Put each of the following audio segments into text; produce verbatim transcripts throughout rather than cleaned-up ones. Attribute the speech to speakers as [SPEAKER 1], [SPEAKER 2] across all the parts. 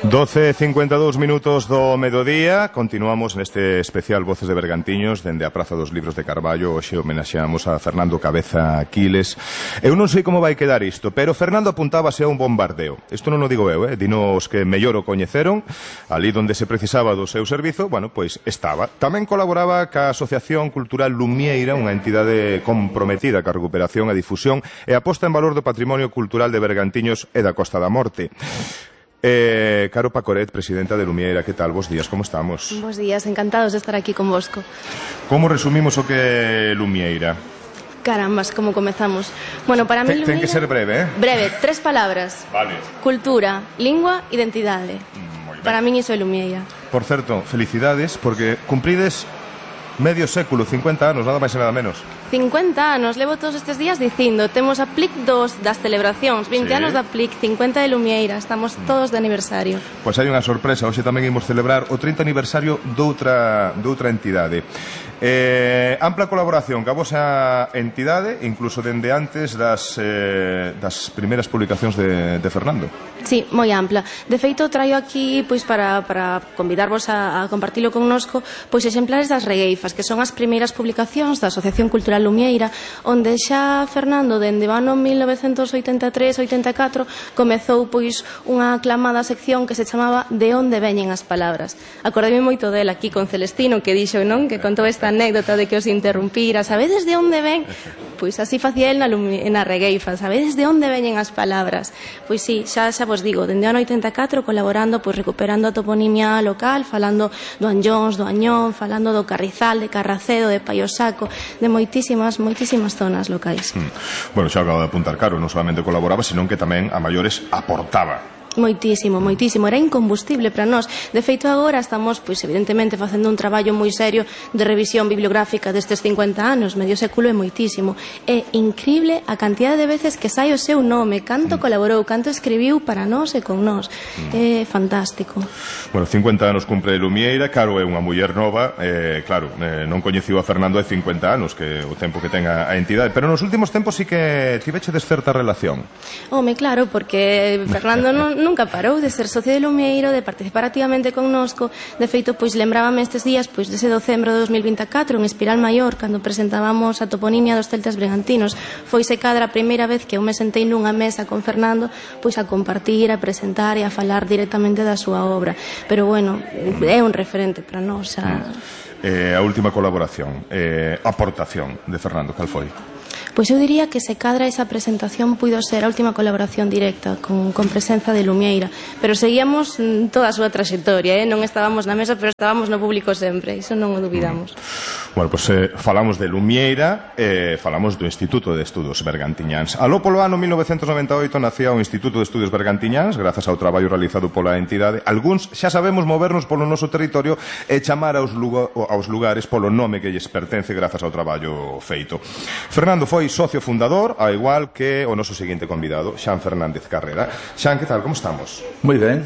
[SPEAKER 1] doce e cincuenta e dous minutos do mediodía. Continuamos neste especial Voces de Bergantiños dende a Praza dos Libros de Carballo. Hoxe homenaxeamos a Fernando Cabeza Quiles. Eu non sei como vai quedar isto, pero Fernando apuntábase a un bombardeo. Isto non o digo eu, eh? Dino os que mellor o coñeceron. Ali donde se precisaba do seu servizo, bueno, pois estaba. Tamén colaboraba ca Asociación Cultural Lumieira, unha entidade comprometida ca recuperación e difusión e a posta en valor do patrimonio cultural de Bergantiños e da Costa da Morte. Eh, Caro Pacoret, presidenta de Lumieira, que tal? Bos días, como estamos?
[SPEAKER 2] Bos días, encantados de estar aquí con vosco.
[SPEAKER 1] Como resumimos o que é Lumieira?
[SPEAKER 2] Carambas, como comezamos. Bueno, para mí Lumieira...
[SPEAKER 1] Ten que ser breve, eh?
[SPEAKER 2] Breve, tres palabras.
[SPEAKER 1] Vale.
[SPEAKER 2] Cultura, lingua, identidade.
[SPEAKER 1] Moi ben.
[SPEAKER 2] Para min iso é Lumieira.
[SPEAKER 1] Por certo, felicidades, porque cumprides medio século, cincuenta anos, nada máis e nada menos.
[SPEAKER 2] cincuenta anos, levo todos estes días dicindo. Temos a P L I C dos das celebracións, vinte
[SPEAKER 1] Sí.
[SPEAKER 2] anos da P L I C, cincuenta de Lumieira. Estamos todos de aniversario.
[SPEAKER 1] Pois hai unha sorpresa, hoxe tamén imos celebrar o trinta aniversario doutra, doutra entidade. Eh, ampla colaboración ca vosa entidade, incluso dende antes das, eh, das primeiras publicacións de, de Fernando.
[SPEAKER 2] Sí, moi ampla. De feito, traio aquí pois para, para convidarvos a, a compartilo connosco pois exemplares das regueifas, que son as primeiras publicacións da Asociación Cultural Lumieira, onde xa Fernando, dende o ano mil novecentos oitenta e tres oitenta e catro, comezou pois unha aclamada sección que se chamaba De onde veñen as palabras. Acordei moito dela aquí con Celestino, que dixo, non? Que contou esta anécdota de que os interrumpira. Sabedes de onde ven? Pois así facía el na, na regueifa. Sabedes de onde veñen as palabras? Pois sí, xa, xa vos digo, dende o ano oitenta e catro colaborando, pois recuperando a toponimia local, falando do Anllóns, do Añón, falando do Carrizal, de Carracedo, de Paiosaco, de moitísimas, moitísimas zonas locais.
[SPEAKER 1] Mm. Bueno, xa acabo de apuntar, Caro, non solamente colaboraba, senón que tamén a maiores aportaba.
[SPEAKER 2] Moitísimo, moitísimo, era incombustible para nós. De feito, agora estamos, pois evidentemente, facendo un traballo moi serio de revisión bibliográfica destes cincuenta anos, medio século é moitísimo. É incrible a cantidade de veces que sai o seu nome, canto mm. colaborou, canto escribiu para nós e con nós. Mm. É fantástico.
[SPEAKER 1] Bueno, cincuenta anos cumpre Lumieira, Caro é unha muller nova, eh, claro, eh, non coñeciu a Fernando hai cincuenta anos, que o tempo que ten a, a entidade, pero nos últimos tempos sí que tiveche descerta relación.
[SPEAKER 2] Home, claro, porque Fernando non nunca parou de ser socio de Lumieiro, de participar activamente connosco. De feito, pois lembrábame estes días, pois dese decembro de dos mil vinte e catro en Espiral Maior, cando presentábamos a toponimia dos celtas bregantinos. Foise cadra a primeira vez que eu me sentei nunha mesa con Fernando, pois a compartir, a presentar e a falar directamente da súa obra. Pero bueno, é un referente para nós. A...
[SPEAKER 1] Eh, a última colaboración, eh, aportación de Fernando, cal foi?
[SPEAKER 2] Pois eu diría que se cadra esa presentación puido ser a última colaboración directa con, con presenza de Lumieira, pero seguíamos toda a súa traxectoria, eh? Non estábamos na mesa, pero estábamos no público sempre, iso non o dubidamos.
[SPEAKER 1] Mm. Bueno, pois pues, eh, falamos de Lumieira e eh, falamos do Instituto de Estudos Bergantiñáns. Aló polo ano mil novecentos noventa e oito nacía o Instituto de Estudos Bergantiñáns grazas ao traballo realizado pola entidade. Algúns xa sabemos movernos polo noso territorio e chamar aos, lugar, aos lugares polo nome que lles pertence grazas ao traballo feito. Fernando foi socio fundador, ao igual que o noso seguinte convidado, Xan Fernández Carrera. Xan, que tal? Como estamos?
[SPEAKER 3] Moi ben.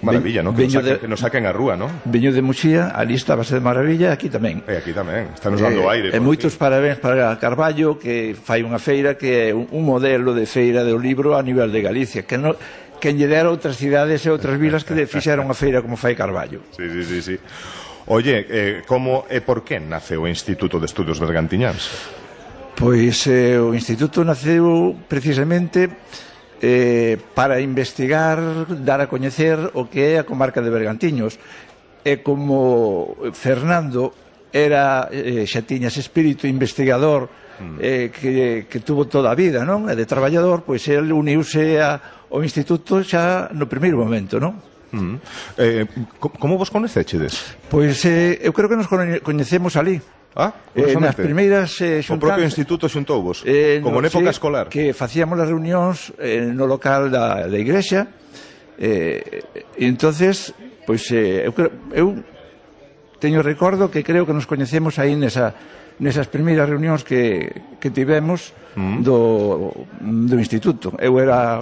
[SPEAKER 1] Maravilla, non? Que,
[SPEAKER 3] de,
[SPEAKER 1] que nos saquen a rúa, non?
[SPEAKER 3] Veño de Muxía, ali estábase de maravilla, aquí tamén.
[SPEAKER 1] E aquí tamén, está nos dando
[SPEAKER 3] eh,
[SPEAKER 1] aire.
[SPEAKER 3] E moitos fin. Parabéns para Carballo, que fai unha feira que é un, un modelo de feira do libro a nivel de Galicia, que non... que lle dera outras cidades e outras vilas que fixeron a feira como fai Carballo.
[SPEAKER 1] Sí, sí, sí, sí. Oye, eh, como e por que nace o Instituto de Estudos Bergantiñáns?
[SPEAKER 3] Pois eh, o Instituto naceu precisamente eh, para investigar, dar a coñecer o que é a comarca de Bergantiños. E como Fernando era, eh, xa tiña ese espírito investigador eh, que, que tuvo toda a vida, non? E de traballador, pois el uniuse ao Instituto xa no primeiro momento, non?
[SPEAKER 1] Mm. Eh, como vos coñecechedes?
[SPEAKER 3] Pois eh, eu creo que nos coñecemos ali.
[SPEAKER 1] Ah,
[SPEAKER 3] eh, nas primeiras eh,
[SPEAKER 1] xuntanzas. O propio instituto xuntouvos,
[SPEAKER 3] eh,
[SPEAKER 1] como
[SPEAKER 3] no,
[SPEAKER 1] en época
[SPEAKER 3] sí,
[SPEAKER 1] escolar.
[SPEAKER 3] Que facíamos as reunións eh, no local da, da igrexa. Eh, e entonces, pois eh, eu, eu teño recordo que creo que nos coñecemos aí nesa, nesas primeiras reunións que, que tivemos mm. do, do instituto. Eu era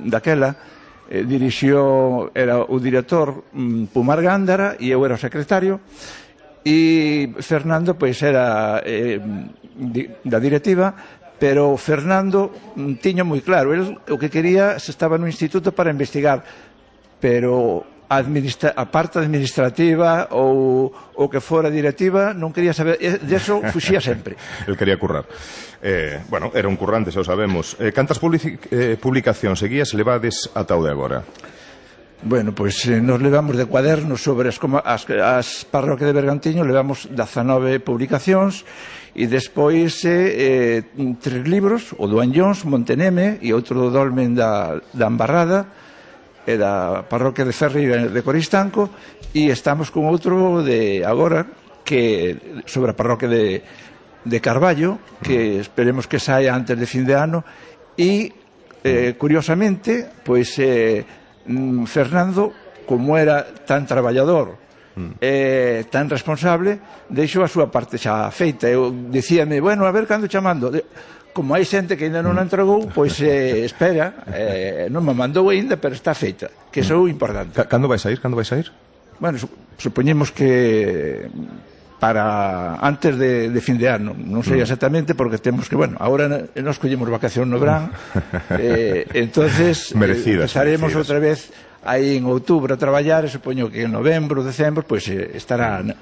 [SPEAKER 3] daquela. Eh, dirixió, era o director mm, Pumar Gándara e eu era o secretario e Fernando pois era eh, di, da directiva pero Fernando mm, tiño moi claro, el o que quería se estaba no instituto para investigar, pero a, administra a parte administrativa ou o que fora directiva non quería saber, de eso fuxía sempre.
[SPEAKER 1] El quería currar. Eh, bueno, era un currante, xa o sabemos. Eh, cantas eh, publicacións seguías levades ata o de agora?
[SPEAKER 3] Bueno, pois pues, eh, nos levamos de cuadernos sobre as, como, as, as parroquias de Bergantiños, levamos dezanove publicacións e despois eh, eh, tres libros, o do Anllóns, Monteneme e outro do Dolmen da, da Ambarrada e da parroquia de Ferri de Coristanco, e estamos con outro de agora que sobre a parroquia de, de Carballo, que esperemos que saia antes de fin de ano, e eh, curiosamente pois eh, Fernando, como era tan traballador eh, tan responsable, deixou a súa parte xa feita. Eu dicíame, bueno, a ver cando chamando, como hai xente que ainda non a entregou, pois eh, espera, eh, non me mandou ainda, pero está feita, que iso é importante.
[SPEAKER 1] Cando vais a ir? Cando vais a ir?
[SPEAKER 3] Bueno, supoñemos que para antes de, de fin de ano, non sei exactamente, porque temos que, bueno, agora nos collemos vacación no verán, eh, entonces
[SPEAKER 1] merecidas,
[SPEAKER 3] eh, empezaremos
[SPEAKER 1] merecidas.
[SPEAKER 3] outra vez aí en outubro a traballar, e supoño que en novembro, decembro, pois eh, estará na,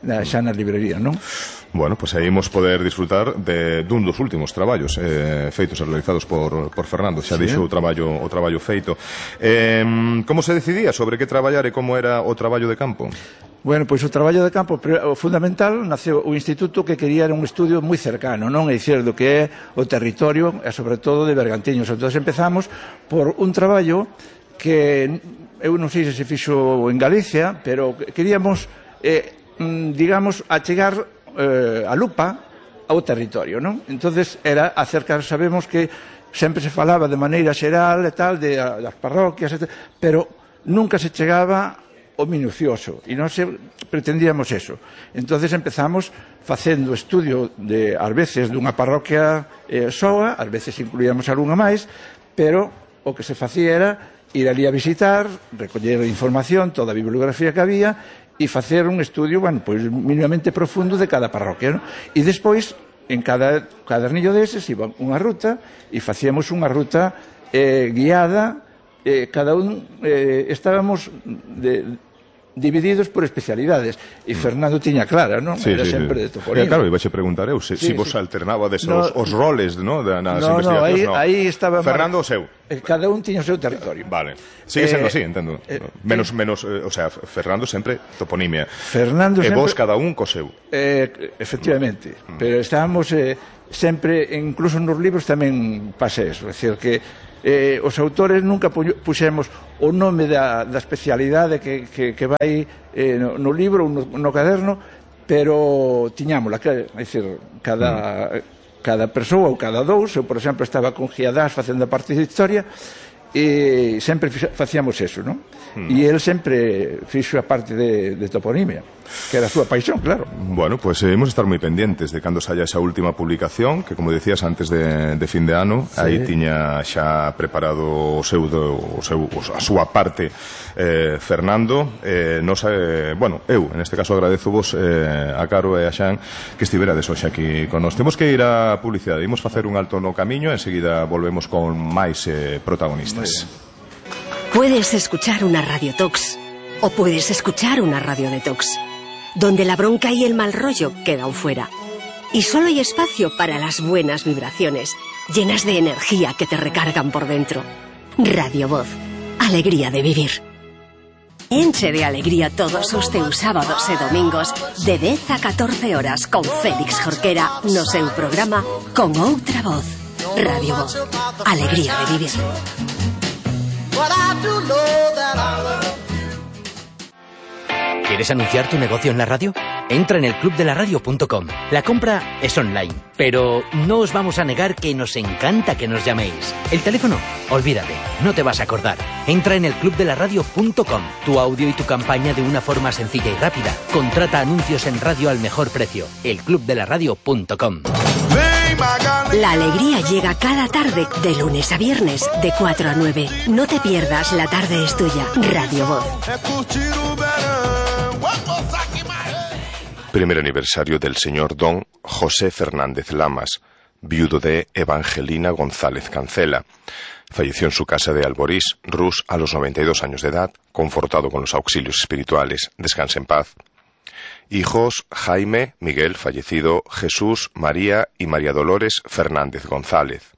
[SPEAKER 3] na, xa na librería, non?
[SPEAKER 1] Bueno, pois pues aí imos poder disfrutar de dun dos últimos traballos eh, feitos e realizados por, por Fernando. Xa
[SPEAKER 3] sí.
[SPEAKER 1] deixou o traballo, o traballo feito. Eh, como se decidía sobre que traballar e como era o traballo de campo?
[SPEAKER 3] Bueno, pois o traballo de campo o fundamental naceu o instituto que quería era un estudio moi cercano, non? É dicir, do que é o territorio e sobre todo de Bergantiños. Entón empezamos por un traballo que eu non sei se se fixo en Galicia, pero queríamos eh, digamos achegar eh, a lupa ao territorio, non? Entonces era acercar, sabemos que sempre se falaba de maneira xeral e tal, de, de das parroquias, etcétera, pero nunca se chegaba o minucioso, e non se pretendíamos eso. Entonces empezamos facendo estudio de, ás veces, dunha parroquia eh, soa, ás veces incluíamos algunha máis, pero o que se facía era ir ali a visitar, recoller información, toda a bibliografía que había, e facer un estudio, bueno, pois mínimamente profundo de cada parroquia, non? E despois, en cada cadernillo deses, iba unha ruta, e facíamos unha ruta eh, guiada, eh, cada un eh, estábamos de, divididos por especialidades, e Fernando tiña clara, non?
[SPEAKER 1] Sí,
[SPEAKER 3] Era
[SPEAKER 1] sí,
[SPEAKER 3] sempre
[SPEAKER 1] sí.
[SPEAKER 3] de toponimia.
[SPEAKER 1] Eh, claro, ibaxe preguntar eu, se,
[SPEAKER 3] sí,
[SPEAKER 1] si vos
[SPEAKER 3] sí.
[SPEAKER 1] alternabades
[SPEAKER 3] no,
[SPEAKER 1] os, os roles, no, de, nas
[SPEAKER 3] no,
[SPEAKER 1] investigacións,
[SPEAKER 3] no, aí, aí estaba
[SPEAKER 1] Fernando o seu.
[SPEAKER 3] Cada un tiña o seu territorio.
[SPEAKER 1] Vale. Sigue sendo
[SPEAKER 3] Eh,
[SPEAKER 1] así, entendo.
[SPEAKER 3] eh,
[SPEAKER 1] menos, menos, eh, o sea, Fernando sempre toponimia.
[SPEAKER 3] Fernando
[SPEAKER 1] e
[SPEAKER 3] sempre...
[SPEAKER 1] vos cada un co seu.
[SPEAKER 3] Eh, efectivamente, mm. pero estábamos eh, sempre, incluso nos libros tamén pasa eso, é dicir que eh, os autores nunca puxemos o nome da, da especialidade que, que, que vai eh, no, no libro ou no, no caderno, pero tiñámola, que, é dicir, cada, mm. cada persoa ou cada dous, eu por exemplo estaba con Giadás facendo a parte de historia, e sempre facíamos eso, non? Mm. E el sempre fixo a parte de, de toponimia, que era a súa paixón, claro.
[SPEAKER 1] Bueno, pues eh, hemos de estar moi pendentes de cando saia esa última publicación, que como decías antes de, de fin de ano, sí. Aí tiña xa preparado o seu, do, o seu a súa parte eh, Fernando. Eh, nos, eh, bueno, eu, en este caso agradezo vos eh, a Caro e a Xan que estiverades hoxe aquí con nós. Temos que ir a publicidade, imos facer un alto no camiño, enseguida volvemos con máis eh, protagonistas.
[SPEAKER 4] Puedes escuchar una Radio Tox o puedes escuchar una Radio Detox, donde la bronca y el mal rollo quedan fuera. Y solo hay espacio para las buenas vibraciones, llenas de energía que te recargan por dentro. Radio Voz, alegría de vivir. Enche de alegría todos os teus sábados e domingos de dez a catorce horas con Félix Jorquera no seu programa Con Outra Voz. Radio Voz, alegría de vivir.
[SPEAKER 5] ¿Quieres anunciar tu negocio en la radio? Entra en el club de la radio punto com. La compra es online, pero no os vamos a negar que nos encanta que nos llaméis. El teléfono, olvídate, no te vas a acordar. Entra en el club de la radio punto com. Tu audio y tu campaña de una forma sencilla y rápida. Contrata anuncios en radio al mejor precio. el club de la radio punto com.
[SPEAKER 4] La alegría llega cada tarde, de lunes a viernes, de cuatro a nueve. No te pierdas, la tarde es tuya. Radio Voz.
[SPEAKER 1] Primer aniversario del señor Don José Fernández Lamas, viudo de Evangelina González Cancela. Falleció en su casa de Alborís, Rus, a los noventa y dos años de edad, confortado con los auxilios espirituales. Descanse en paz. Hijos: Jaime, Miguel, fallecido, Jesús, María y María Dolores Fernández González.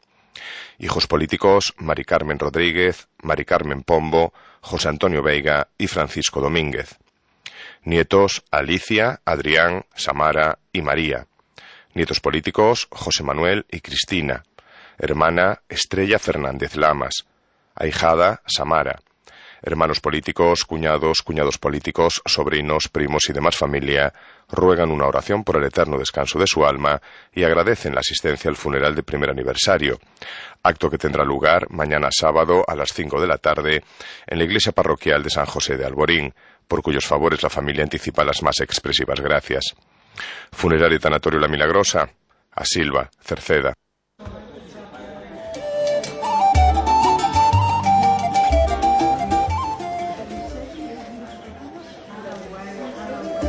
[SPEAKER 1] Hijos políticos: Mari Carmen Rodríguez, Mari Carmen Pombo, José Antonio Veiga y Francisco Domínguez. Nietos: Alicia, Adrián, Samara y María. Nietos políticos: José Manuel y Cristina. Hermana: Estrella Fernández Lamas. Ahijada: Samara. Hermanos políticos, cuñados, cuñados políticos, sobrinos, primos y demás familia ruegan una oración por el eterno descanso de su alma y agradecen la asistencia al funeral de primer aniversario, acto que tendrá lugar mañana sábado a las cinco de la tarde en la iglesia parroquial de San José de Alborín, por cuyos favores la familia anticipa las más expresivas gracias. Funerario y tanatorio La Milagrosa, a Silva, Cerceda.